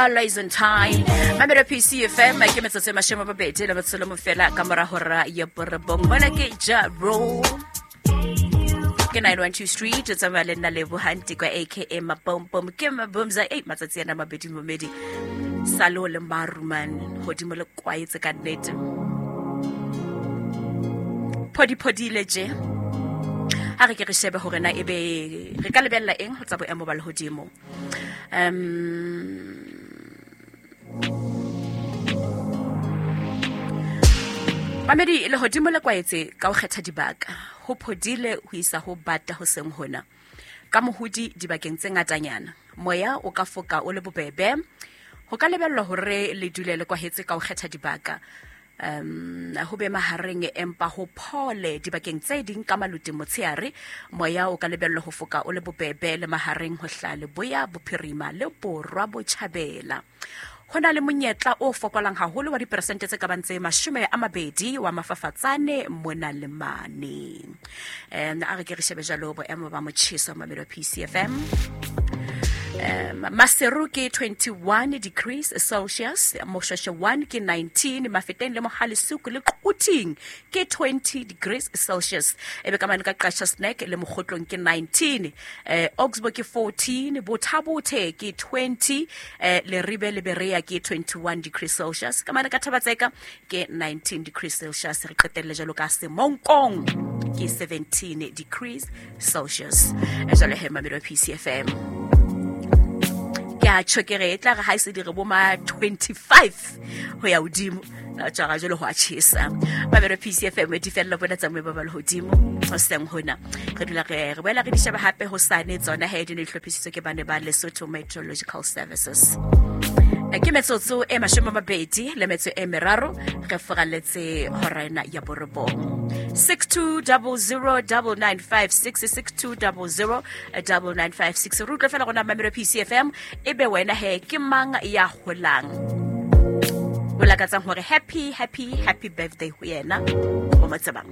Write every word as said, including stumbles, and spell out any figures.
Always on time. Mamelo P C F M ke metsotso e mashome a mabedi le metso le mofela ka mora hora ya borobong. Mona ke Ja Rule. Ke nine one two Street, o tsamaya le nna Lebo Hanti kwa A K A Mabombom. Ke Mabomza, ei, matsatsi ana mabedi momedi. Salo le maruman, hodimo le kwaetse ka nnete. Phodi phodi le je. Ha re ke re shebe hore na ebe re ka lebella eng ho tsa boemo ba lehodimo. Um, Mamedi, lehodimo le kwaetse ka ho kgetha dibaka. Ho phodile ho isa ho bata ho seng hona. Ka mohodi dibakeng tse ngatanyana. Moya o ka foka o le bobebe. Ho ka lebellwa hore le dule le kwahetse ka ho kgetha dibaka. Um, ho be mahareng empa ho phole dibakeng tse ding ka maluti motsheare. Moya o ka lebellwa ho foka o le bobebe le mahareng ho hla leboya bophirima le borwa botjhabela. Ho na le monyetla o fokolang haholo wa diperesente tse ka bang tse mashome a mabedi wa mafafatsane mona le mane. Um, a re ke re shebe jalo boemo ba motjheso Mamelo P C F M. Um, Maseru ke twenty-one degrees Celsius, Moshweshwe one ke nineteen, Mafeteng le Mohalesuku le Quthing ke twenty degrees Celsius. Ebe ka mane ka Qacha's Nek le Mokgotlong ke nineteen, eh, Oxbow ke fourteen, Bothabothe ke twenty, eh, Leribe le Berea ke twenty-one degrees Celsius. Ka mane ka Thabatseka ke nineteen degrees Celsius. Re qetelle jalo ka Semonkong ke seventeen degrees Celsius. E jwale he Mamelo P C F M. Ke a tjho ke re e tla re ha e se di re bo ma twenty-five ho ya hodimo. Na tjara jwale ho a tjhesa. Mamelo P C F M di fella bona tsa moya ba lehodimo hoseng hona. Re dula re re boela re di sheba hape hosane tsona he di ne di hlophisitswe ke bane ba Lesotho Meteorological Services. Ke metsotso e mashome a mabedi le metso e meraro re foraletse hora ena ya borobong. six two zero zero nine nine five six, six two zero zero nine nine five six. Re utlwe fela rona Mamelo P C F M ebe wena he ke mang ya holang? O lakatsang hore happy, happy, happy birthday ho yena o mo tsebang.